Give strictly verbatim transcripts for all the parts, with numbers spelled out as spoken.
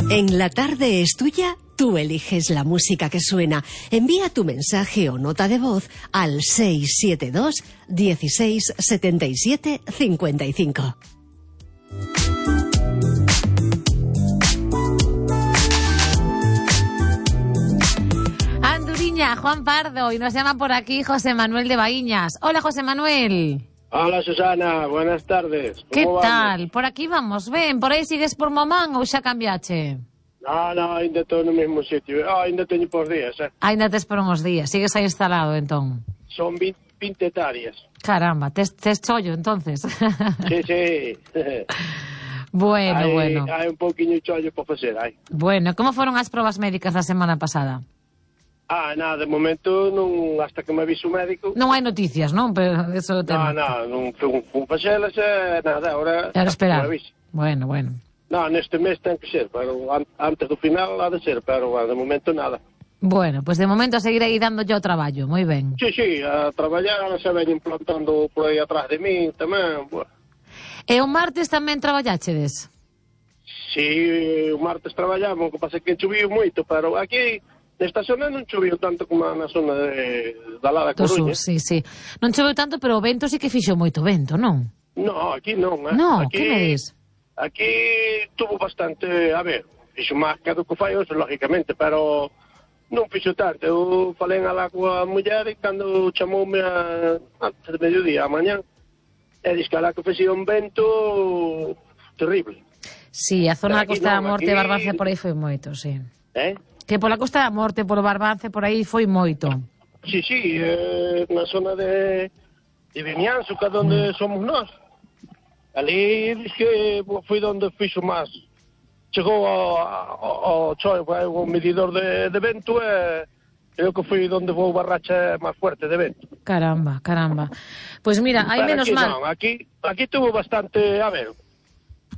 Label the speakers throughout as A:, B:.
A: En La Tarde es Tuya, tú eliges la música que suena. Envía tu mensaje o nota de voz al seis siete dos, dieciséis, setenta y siete, cincuenta y cinco.
B: Anduriña, Juan Pardo, y nos llama por aquí José Manuel de Baíñas. Hola, José Manuel.
C: Hola, Susana, buenas tardes.
B: ¿Qué
C: Como
B: tal?
C: vamos?
B: Por aquí vamos, ben, por aí sigues por Mamán ou xa cambiache?
C: No, no, ainda estou no mesmo sitio. Oh, ainda teño por días, eh.
B: Ainda tes por uns días, sigues aí instalado, entón.
C: Son vinte hectáreas.
B: Caramba, tes, tes chollo, entonces.
C: Sí, sí.
B: bueno,
C: hai,
B: bueno.
C: Hai un pouquiño chollo por facer, hai.
B: Bueno, como foron as probas médicas da semana pasada?
C: Ah, nada, de momento non, hasta que me aviso o médico.
B: Non hai noticias, non? Pero eso
C: No, no, non fun, fun facelas, eh, nada, ahora...
B: Era esperar.
C: me avise.
B: Bueno, bueno.
C: No, neste mes ten que ser, pero an, antes do final ha de ser, pero bueno, de momento nada.
B: Bueno, pues de momento seguirei dando yo traballo, moi ben.
C: Sí, sí, a traballar, se ven implantando por aí atrás de min tamén, bueno.
B: E o martes tamén traballáchedes?
C: Si, o martes traballamos, o que pasa é que choviu moito, pero aquí nesta zona non choviu tanto como na zona de, da lá da
B: Do
C: Coruña.
B: sur, sí, sí. Non choveu tanto, pero o vento sí que fixo moito vento, non?
C: No, aquí non, eh.
B: No,
C: aquí,
B: que me dis?
C: Aquí tuvo bastante, a ver, fixo máis que do que fai hoxe, lógicamente, pero non fixo tanto. Eu falei alá coa muller e cando chamoume a, antes de mediodía, a mañán, e dix que alá que fixía un vento terrible.
B: Sí, a zona da
C: Aquí
B: Costa da
C: non,
B: Morte
C: aquí-
B: e Barbance por aí foi moito, sí.
C: Eh?
B: Que pola Costa da Morte, por Barbance, por aí foi moito.
C: Sí, sí, eh, na zona de, de Vimianzo, que é onde somos nós. Ali diz que foi onde fixo máis. Chegou ao, ao, ao choi, o medidor de, de vento e creo que foi onde vou barracha máis fuerte de vento.
B: Caramba, caramba. Pois pues mira, hai
C: Pero
B: menos
C: aquí
B: mal.
C: Non, aquí, aquí tuvo bastante, a ver,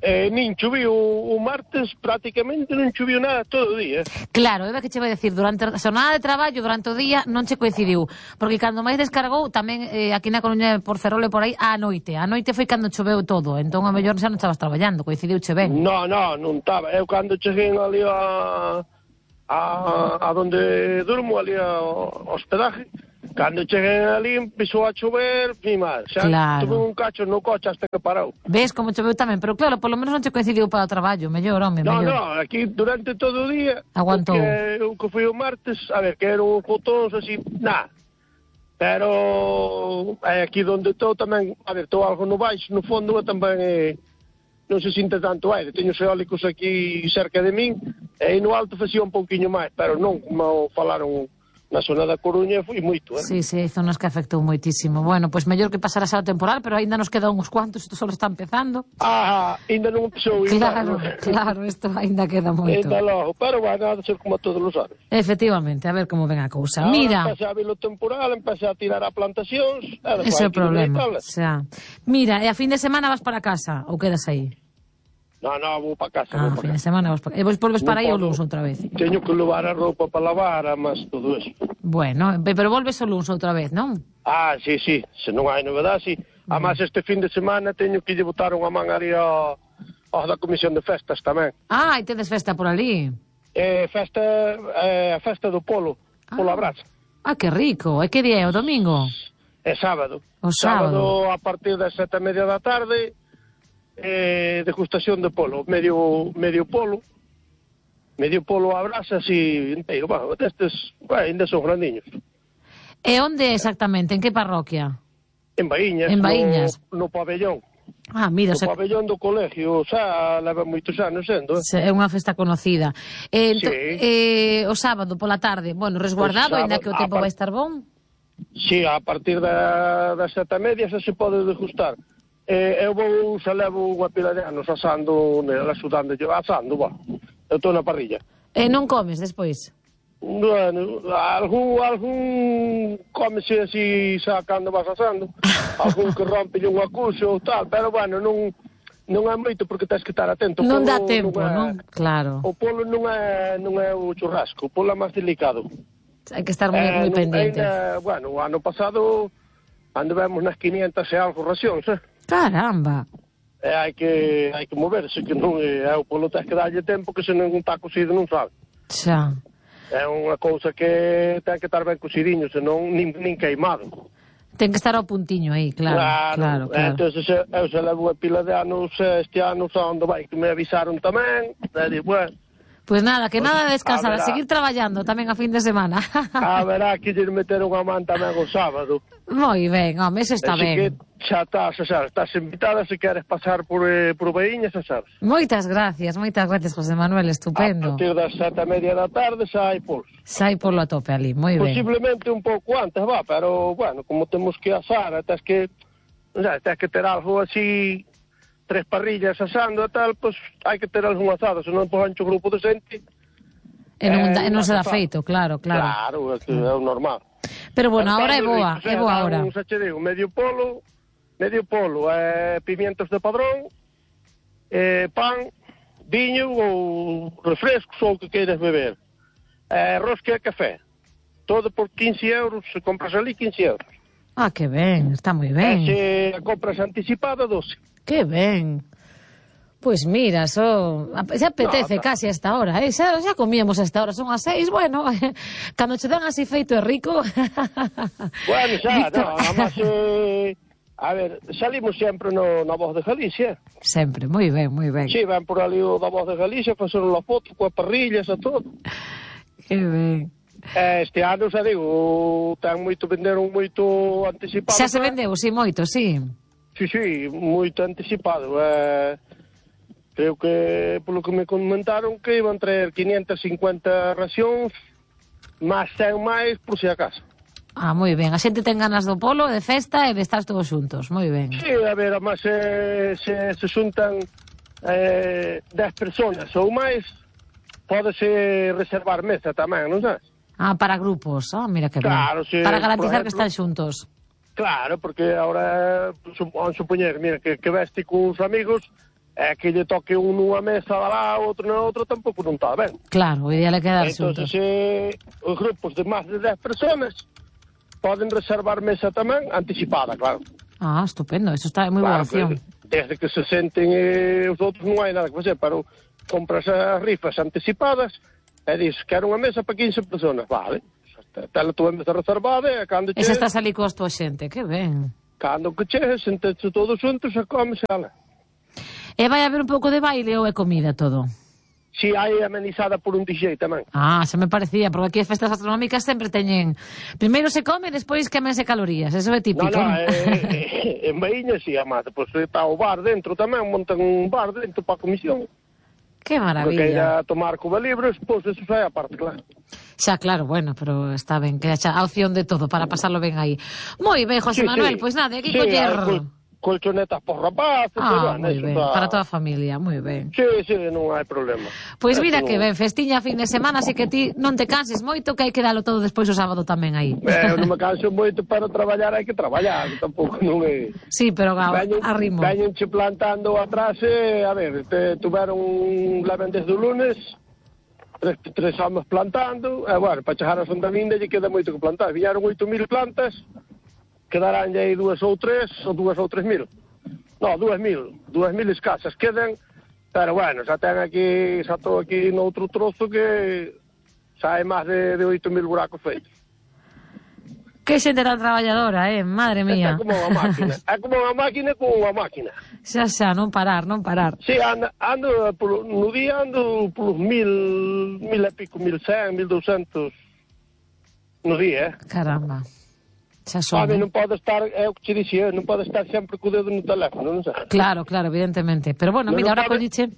C: eh, nin choviu o martes, prácticamente non choviu nada todo o día.
B: Claro, é que che vai decir, durante a jornada de traballo, durante o día, non che coincidiu. Porque cando máis descargou, tamén eh, aquí na Coruña, por Ferrol e por aí, á noite. A noite foi cando choveu todo, entón a mellor xa non estabas traballando, coincidiu che ben.
C: No, no, non estaba. Eu cando cheguei ali a, a, a donde durmo, ali ao hospedaje, cando cheguei ali empezou a chover, mi mal. Xa
B: Claro.
C: tuve un cacho no coche hasta que parou.
B: Ves como choveu tamén, pero claro, polo menos non che coincidiu para o traballo, mellor, home,
C: No,
B: mellor.
C: no, aquí durante todo o día,
B: Aguantou.
C: o que, o que foi o martes, a ver, que eran fotóns así, nada. Pero é aquí donde estou tamén, a ver, estou algo no baixo, no fondo, e tamén eh, non se sinte tanto aire. Teño os eólicos aquí cerca de min, e no alto facía un pouquiño máis, pero non como falaron na zona da Coruña, foi moito, eh?
B: Sí, sí, hai zonas que afectou moitísimo. Bueno, pois pues mellor que pasara xa o temporal, pero aínda nos quedan uns cuantos, isto só está empezando.
C: Ah, ainda non empezou o
B: Claro,
C: inverno.
B: claro, isto aínda queda moito.
C: Ainda logo, pero vai a ser como todos os anos.
B: Efectivamente, a ver como ven a cousa.
C: Ahora
B: Mira,
C: empeza a vir o temporal, empeza a tirar a plantacións, e despois
B: ese é o
C: hai que
B: problema.
C: inevitable.
B: Xa. Mira, e a fin de semana vas para casa ou quedas aí?
C: No, no, vou para casa,
B: Ah,
C: vou
B: a fin
C: para
B: de
C: casa.
B: semana vas para... E vos volves para aí o
C: podo.
B: luns outra vez?
C: Teño que levar a roupa para lavar, mas todo eso.
B: Bueno, pe- pero volves o luns outra vez, non?
C: Ah, sí, sí, se non hai novedade, sí. Además, este fin de semana teño que lle botar unha man ali ao, ao da Comisión de Festas tamén.
B: Ah, e tedes festa por ali.
C: É festa, é a festa do polo, polo
B: Ah.
C: abrazo.
B: Ah, que rico. E que día é? O domingo?
C: É sábado.
B: O sábado.
C: a partir das sete e media da tarde, eh, degustación de polo, medio medio polo, medio polo a brasa así inteiro, bueno, destes, bueno, ainda son grandiños.
B: E onde exactamente? En que parroquia?
C: En Baíñas,
B: En Baíñas.
C: No, no pabellón,
B: Ah, mira, o
C: no
B: sea,
C: pabellón do colegio, xa leva moitos anos sendo, eh?
B: se- é unha festa conocida. Eh, ento,
C: Sí.
B: eh, o sábado pola tarde, bueno, resguardado,
C: O
B: ainda
C: sábado,
B: que o
C: a
B: tempo
C: par-
B: vai estar bon.
C: Sí, a partir da, das sete e media xa se pode degustar. Eh, eu vou, xa levo unha pila de anos asando, nela, sudando, yo, asando, va. Eu estou na parrilla.
B: E non comes despois?
C: Bueno, algún, algún cómese así xa cando vas asando, algún que rompe un acuso ou tal, pero bueno, non, non é moito porque tens que estar atento. O
B: Non
C: polo
B: dá tempo,
C: é-
B: non? Claro.
C: O polo non é, non é o churrasco, o polo é máis delicado.
B: Hai que estar moi,
C: Eh,
B: moi
C: non-
B: pendiente.
C: ainda, bueno, o ano pasado anduvemos nas quinientas e algo racións, eh?
B: Caramba.
C: e hai que hai que moverse, que non é o polo tens que darlle tempo, que se non está cocido non sabe.
B: Xa.
C: É unha cousa que ten que estar ben cocidinho, senón nin, nin queimado.
B: Ten que estar ao puntiño aí, claro, claro, claro.
C: Entón, eu se levo unha pila de anos, este ano, onde vai, que me avisaron tamén, e di, bueno...
B: Pois pues nada, que
C: pues,
B: nada de descansar, a,
C: a
B: seguir traballando tamén a fin de semana.
C: A verá que lle meter unha man tamén o sábado.
B: Moi ben, home, eso está
C: Así
B: ben.
C: que xa estás, xa, estás invitada se queres pasar por, eh, por Baíñas, xa sabes.
B: Moitas gracias, moitas gracias, José Manuel, estupendo.
C: A partir das sete e media da tarde xa hai polos.
B: Xa hai polo a tope ali, moi ben.
C: Posiblemente un pouco antes, va, pero, bueno, como temos que asar, tens que, non sei, tens que ter algo así, tres parrillas asando e tal, pois pues, hai que ter algún asado, senón pois ancho grupo de xente.
B: E non,
C: eh,
B: e non se dá
C: asado.
B: feito, claro, claro.
C: Claro, é, que é o normal.
B: Pero bueno,
C: Pero
B: ahora é
C: está moi
B: boa,
C: rico,
B: é boa
C: dá
B: ahora.
C: Un, xa che digo, medio polo, medio polo, eh, pimientos de padrón, eh, pan, viño ou refrescos ou o que queiras beber. Eh, rosca e café. Todo por quince euros, se compras ali quince euros.
B: Ah, que ben, está moi ben.
C: E se compras anticipada, doce.
B: Que ben. Pois mira, so, xa apetece no, casi a esta hora, eh? xa, xa comíamos a esta hora, son as seis, bueno, cando che dan así feito e rico...
C: Bueno, xa, no, además, eh, a ver, salimos sempre no, na Voz de Galicia.
B: Sempre, moi ben, moi ben.
C: Sí, ven por ali o da Voz de Galicia, faceron a foto coas parrillas e todo.
B: Que ben.
C: Este ano, xa digo, ten moito, venderon moito anticipado.
B: Xa se vendeu, si, moito, si.
C: Sí, sí, moito anticipado. Eh, creo que, polo que me comentaron, que iban traer quinientas e cincuenta racións, máis cen máis, por si acaso.
B: Ah, moi ben. A xente ten ganas do polo, de festa e de estar todos xuntos. Moi ben.
C: Sí, a ver, además se, se, se xuntan eh, dez personas ou máis, pódese reservar mesa tamén, non sabes?
B: Ah, para grupos. Ah, mira que ben.
C: Claro, sí,
B: para garantizar
C: por ejemplo,
B: que están xuntos.
C: Claro, porque ahora, vamos supoñer, mira, que, que veste con uns amigos, é que lle toque un nunha mesa lá, outro na outra, tampouco non está ben.
B: Claro, o ideal é quedar
C: Entonces,
B: xuntos.
C: eh, os grupos de máis de dez personas poden reservar mesa tamén anticipada, claro.
B: Ah, estupendo, eso está moi boa
C: Claro,
B: opción.
C: que desde que se senten eh, os outros non hai nada que facer, pero compras as rifas anticipadas e dis, quero unha mesa para quince personas, vale. Tela túa mesa reservada e cando
B: E
C: chegues...
B: xa estás ali coa tua xente, que ben.
C: Cando que chegues, sentense todos xuntos e comes ela.
B: E vai haber un pouco de baile ou é comida todo?
C: Si hai amenizada por un D J tamén.
B: Ah, xa me parecía, porque aquí as festas gastronómicas sempre teñen... Primeiro se come e despois quemense calorías, eso é típico.
C: No, no, eh, en Baíña si, amada, pois pues, está o bar dentro tamén, montan un bar dentro para a comisión.
B: Que maravilla.
C: Porque ir a tomar Cuba Libres, pois pues, eso xa é a parte, claro.
B: Xa, claro, bueno, pero está ben, que xa a opción de todo para pasarlo ben aí. Moi ben, José
C: Sí,
B: Manuel,
C: sí.
B: pois pues nada, aquí
C: Sí,
B: coller...
C: hai col colchonetas por rapaces,
B: Ah,
C: bueno,
B: moi
C: eso
B: ben,
C: está...
B: para toda a familia, moi ben.
C: Sí, sí, non hai problema.
B: Pois mira
C: Eso
B: que
C: non-
B: ben, festiña a fin de semana, así que ti non te canses moito, que hai que dalo todo despois o sábado tamén aí.
C: Eh, eu non me canso moito, para traballar hai que traballar, tampouco non é...
B: Sí, pero a,
C: Veñen,
B: a ritmo.
C: veñenche plantando atrás, eh, a ver, te, tuveron un leven desde o lunes, tres, tres anos plantando, e, bueno, para chegar a Santa Linda lle queda moito que plantar. Viñaron oito mil plantas, quedarán aí dúas ou tres, ou dúas ou tres mil. No, dúas mil, dúas mil escasas quedan, pero, bueno, xa ten aquí, xa estou aquí noutro trozo que xa hai máis de, de oito mil buracos feitos.
B: Que xente tan traballadora, eh, madre mía.
C: É como unha máquina, é como unha máquina con unha máquina.
B: Xa, xa, non parar, non parar.
C: Sí, ando, ando por, no día ando polos mil, mil e pico, mil cen, mil douscentos no día, eh?
B: Caramba. Xa son.
C: A mí
B: eh.
C: non pode estar, é o que che dixía, non pode estar sempre co dedo no teléfono, non sei.
B: Claro, claro, evidentemente. Pero bueno,
C: Non
B: mira,
C: non
B: ahora
C: pode-
B: colliche...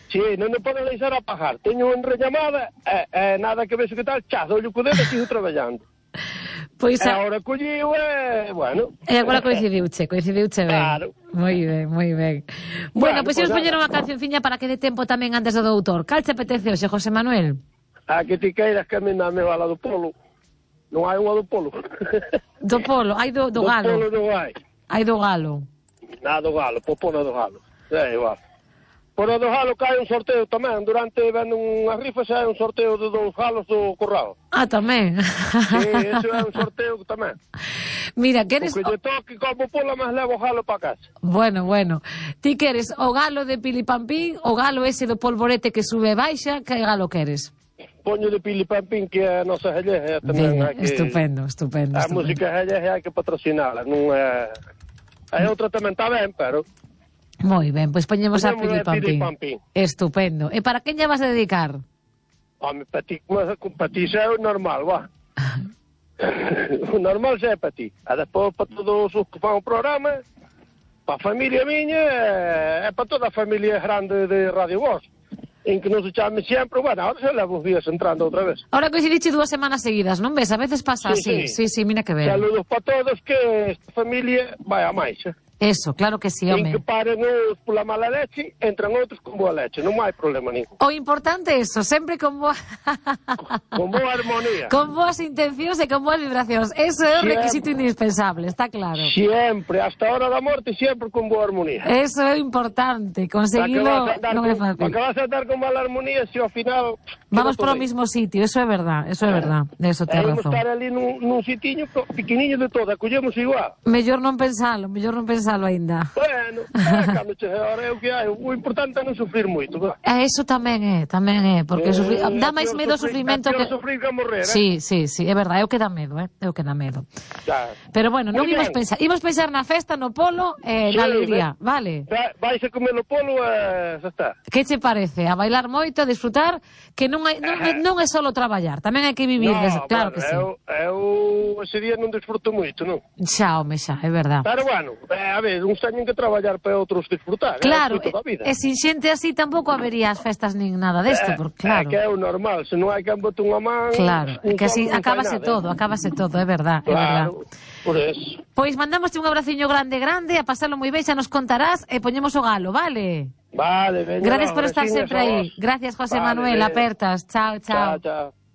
C: Sí, non me pode deixar apagar. Teño unha rellamada, e, e nada que vexo que tal, chá, dou-lhe co dedo e sigo traballando.
B: Pois
C: E
B: a...
C: agora colliu e, bueno...
B: E agora coincidiuche, coincidiuche ben.
C: Claro.
B: Moi ben, moi ben. Bueno,
C: Bueno,
B: pois
C: pois
B: imos
C: nada.
B: poñer unha cancionciña para que dé tempo tamén antes do doutor. Cal te apetece hoxe, José Manuel?
C: A que ti queiras que a mí dame a la do polo. Non hai unha do polo.
B: Do polo, hai do, do
C: Do
B: galo.
C: polo non hai.
B: Hai do galo.
C: Nada do galo, pois pon a do galo. É igual. Por a do galo cae un sorteo tamén. Durante ven unhas rifas hai un sorteo de dos galos do corral.
B: Ah, tamén.
C: Sí, eso é un sorteo tamén.
B: Mira, queres...
C: O que lle toque como pola máis levo o galo para casa.
B: Bueno, bueno. Ti queres o galo de Pilipampín, o galo ese do polvorete que sube e baixa, que galo queres?
C: Poño de Pilipampín, que é a nosa gallega tamén.
B: Venga,
C: hai que...
B: estupendo, estupendo.
C: A
B: estupendo.
C: música gallega hai que patrocinala, non é... A outra tamén está ben, pero...
B: Moi ben, pois poñemos a
C: Poñemos a
B: Pilipampín.
C: Pilipampín.
B: Estupendo. E para quen lle vas a dedicar?
C: Home, para ti, para ti xa é o normal, va. O normal xa é para ti. A despois para todos os que fan o programa, para a familia miña, é para toda a familia grande de Radio Voz. En que non se chame sempre, bueno, ahora xa levo os días entrando outra vez.
B: Ahora coincidiche dúas semanas seguidas, non ves? A veces pasa así.
C: Sí,
B: Sí,
C: sí.
B: sí, mira que ben.
C: Saludos para todos, que esta familia vai a máis, eh?
B: Eso, claro que sí,
C: En
B: home.
C: que paren uns pola mala leche, entran outros con boa leche, non hai problema ningún.
B: O importante é eso, sempre con boa...
C: Con boa armonía.
B: con boas intencións e con boas vibracións. Eso é un
C: Siempre.
B: requisito indispensable, está claro.
C: Siempre, hasta a hora da morte, sempre con boa armonía.
B: Eso é importante, conseguilo non é fácil.
C: Para que vas a andar con mala armonía si ao final...
B: Vamos
C: queda
B: por o
C: todo aí.
B: mismo sitio, eso é verdad, eso é verdad, de eso
C: E
B: te
C: imos
B: razón.
C: estar ali nun, nun sitiño pequeniño de todo, acollemos igual.
B: Mellor non pensalo, mellor non pensalo aínda.
C: Bueno, é, cando che ahora é o que hai, o importante é non sufrir moito, va.
B: E eso tamén é, tamén é, porque
C: Eh,
B: sufrir, dá
C: é
B: máis
C: peor
B: medo o
C: sufrir-
B: sufrimento
C: é peor
B: que...
C: sufrir que morrer, eh?
B: Sí, sí, sí, é verdade, é o que dá medo, eh? É o que dá medo.
C: Xa.
B: Pero bueno, non
C: Muy
B: imos
C: ben.
B: pensar, imos pensar na festa, no polo e
C: Sí,
B: na alegría,
C: ben.
B: vale?
C: Va- Vais a comer o polo e xa está.
B: Que che parece? A bailar moito, a disfrutar, que non hai, non, é, non é solo traballar, tamén hai que vivir,
C: No,
B: des... claro
C: bueno,
B: que sí.
C: eu, eu ese día non desfruto moito, non?
B: Xa, home, xa, é verdad.
C: Pero bueno, eh, a ver, uns teñen que traballar para outros disfrutar.
B: Claro,
C: é o fruto da vida.
B: e, e sin xente así tampouco habería as festas nin nada desto,
C: Eh,
B: porque claro.
C: É que é o normal, se non hai quen bote unha man...
B: Claro, é
C: un
B: que así
C: solo non fai
B: acábase
C: nada,
B: todo,
C: eh.
B: acábase todo, é verdad, é verdad.
C: Claro, por eso.
B: Pois mandámoste un abraciño grande, grande, a pasalo moi ben, xa nos contarás e poñemos o galo, vale?
C: Vale, veña.
B: Gracias
C: no,
B: por estar
C: veciños
B: sempre
C: a
B: aí.
C: vos.
B: Gracias, José
C: Vale,
B: Manuel,
C: ben.
B: apertas. Chao, chao.
C: Chao, chao.